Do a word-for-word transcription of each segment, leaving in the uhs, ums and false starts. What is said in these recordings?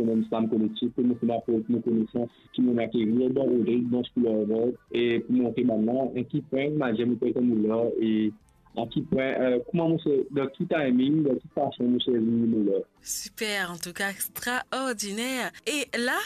dan Slam Kolektif, pou mo finn aport mo konesans ki mo akerir dan Rodrig, dan School of Art, e pou montre bann la, e ki pwin, mo dir, mo pe kouma la, e a ki pwin, eh, kouma mo se, dan ki timing, dan ki fason mo servi mo la. Super, antouka extraordiner. E la,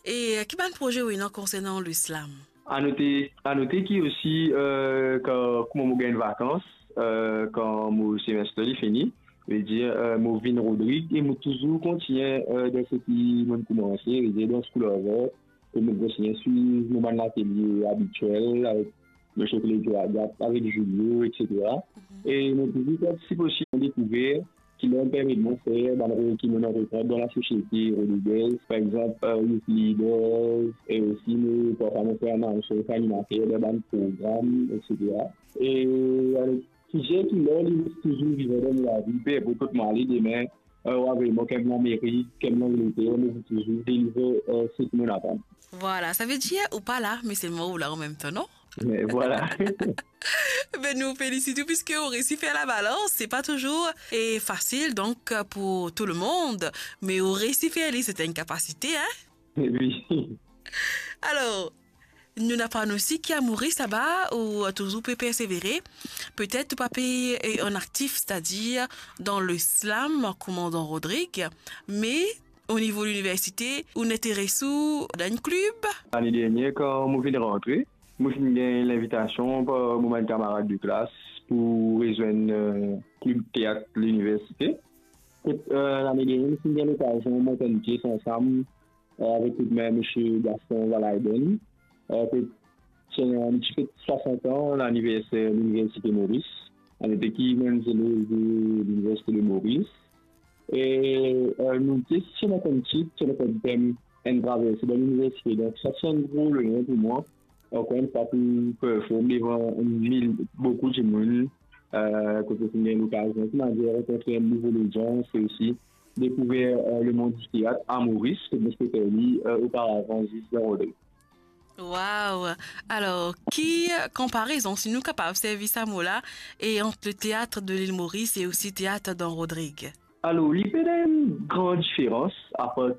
e ki bann proze ou ena konsernan le slam? Anote, anote ki osi, eh, kan, kouma mo gagn vakans, eh, kan mo semester li fini, vedir, eh, mo vinn Rodrig e mo touzour kontigne, eh, dan seki mo koumanse, vedir dan School of Art, e mo kontigne swiv mo bann latelie abitiel avek Misie Claudio Agathe, avek Julio, et cetera. E mo touzour partisip osi dan Découverte, ki la permet mwa fer bann rol ki mo anvi pran dan lasosiete rodrigez, par exanp, eh, youth leaders, e osi mo, parfwa mo fer anons avek animater dan bann program, et cetera. E, eh, size ki la, li touzour vivan dan mo lavi, pe inport kot mo ale demin, eh, ou avoy mwa, ke mo Amerik, ke mo Angleter, mo pou touzour deliver, eh, seki mo aprann. Vwala, savedir ou pa la, me selman ou la anmemtan, non? Me vwala. Be, nou felisit ou, piski ou resi fer labalans, se pa touzour, eh, fasil, donk, pou tou le mond, me ou resi fer li, se enn kapasite, hein? Wi. Alor, nou ena pann osi ki a Moris laba, ou touzour pe persevere. Petet ou pa pe, eh, an aktif, setadir dan le slam, kouma dan Rodrig, me o nivo liniversite, ou inn interes ou dan enn klib? Lane dernie, kan mo vinn rantre, mo finn gagn linvitasion par mo bann kamarad de klas pou rezwenn, eh, klib teat liniversite. Kot, eh, lane dernie, mo finn gagn lokazion mont enn pies ansam, eh, avek koudmin misie Gaston Valaiden. Eh, kot ti ena, nou ti fet swasant an laniverser Liniversite Moris. Anote ki mwa enn zeloz de Liniversite de Moris. E, eh, nou ti ena kom tit, ti ena kom tem enn traverse dan liniversite. Donk, sa ti enn gro loner pou mwa. Ankor enn fwa, pou perform devan mil, boukou dimoun, eh, kot mo finn gagn lokazion, kouma dir, rankontre enn nouvo lodians e osi dekouver, eh, lemond di teat a Moris, kot mo ti pe fer li, eh, oparavan zis dan Rodrig. Waw! Alor, ki konparezon, si nou kapav servi sa mo la, e ant le teat de Lil Moris e osi teat dan Rodrig? Alor, li pena enn gran diferans, apar,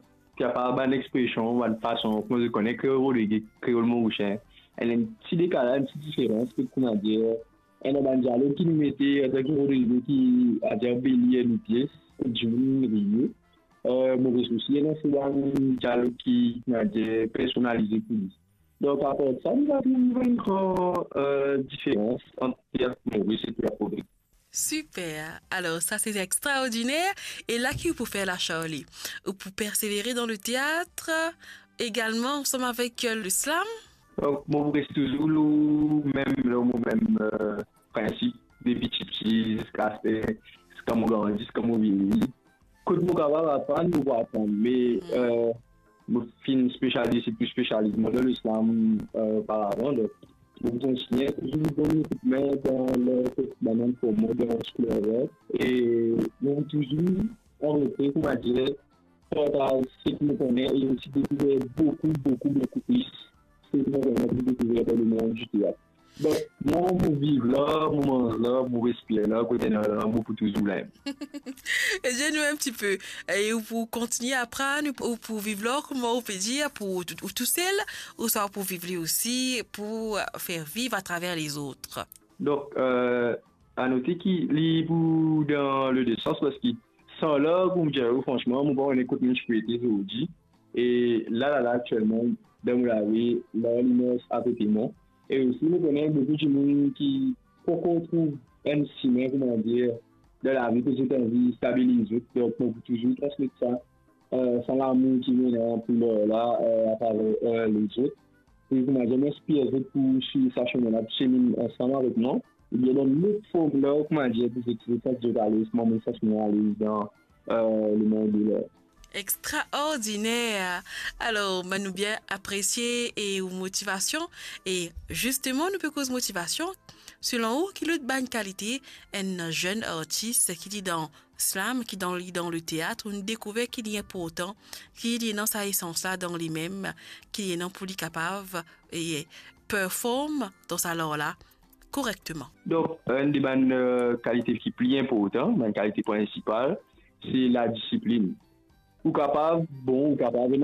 apar bann expresion, bann fason, kouma zot kone, kreol Rodrig, kreol morisien. Enn, enn ti dekalaz, enn ti diferans, kouma dir, ena bann dialog ki nou mete, antan ki Rodrig ki, adir, belie nou pies, dimoun riye. Eh, Moris osi, ena se bann dialog ki, kouma dir, personalize pou li. Donk, apar sa, nou pa trouv enn gran, eh, diferans ant teat Moris e teat Rodrig. Super! Alor, sa se extraordiner. E la ki ou pou fer la, Charlie? Ou pou persevere dan le teat, egalman ansam avek, eh, le slam? Donk, mo pou res touzour lor mem, lor mo mem, eh, prinsip depi tipti ziska, ziska mo grandi, ziska mo vieyi. Kot mo kapav aprann, mo pou aprann. Me, eh, mo finn spesializ, se pli spesializ mwa dan le slam, eh, oparavan. Donk, mo pou kontigne touzour donn koudmin dan le, bann forma dan School of Art. E mo pou touzour anrete, kouma dir, partaz seki mo kone e osi dekouver boukou, boukou, boukou plis seki mo kone pou dekouver dan lemond di teat. Donk, mwa, mo viv la, mo manz la, mo respir la, kot ena la, mo pou touzour la. E dir nou enn tipe, e ou pou kontigne aprann, ou pou viv la, kouma ou pe dir, pou ou, ou tousel, ouswa ou pou viv li osi, pou, eh, fer viv atraver lezot? Donk, eh, anote ki li pou dan le de sans, parski san la, pou mo dir ou fransman, mo pa kone kot mo ti pou ete zordi. E la, la, la, aktielman, dan mo lavi, la, li mars akote mwa. E osi, mo kone boukou dimoun ki poko trouv enn simin, kouma dir, dan lavi, ki zot anvi stabiliz zot. Donk, mo pou touzour transmet sa, eh, sa lamour ki mo ena pou lar la, eh, atraver, eh, lezot. E kouma dir, mo inspir zot pou swiv sa simin la, pou seminn ansam avek mwa. Oubien dan lot form la, kouma dir, pou zot, zot santi zot alez, kouma mo santi mwa alez dan, eh, lemond de lar. Extraordiner! Alor, bann nou bien apresie e ou motivasion. E zisteman, nou pe koz motivasion. Selon ou, ki lot bann kalite enn zenn artis ki li dan slam, ki dan, li dan le teat, ou'nn dekouver ki li inportan, ki li ena sa esans la dan limem, ki li ena pou li kapav, e, perform dan sa lar la korekteman? Donk, enn de bann, eh, kalite ki pli inportan, bann kalite prinsipal, se ladisiplinn. ou kapav, bon, ou kapav ena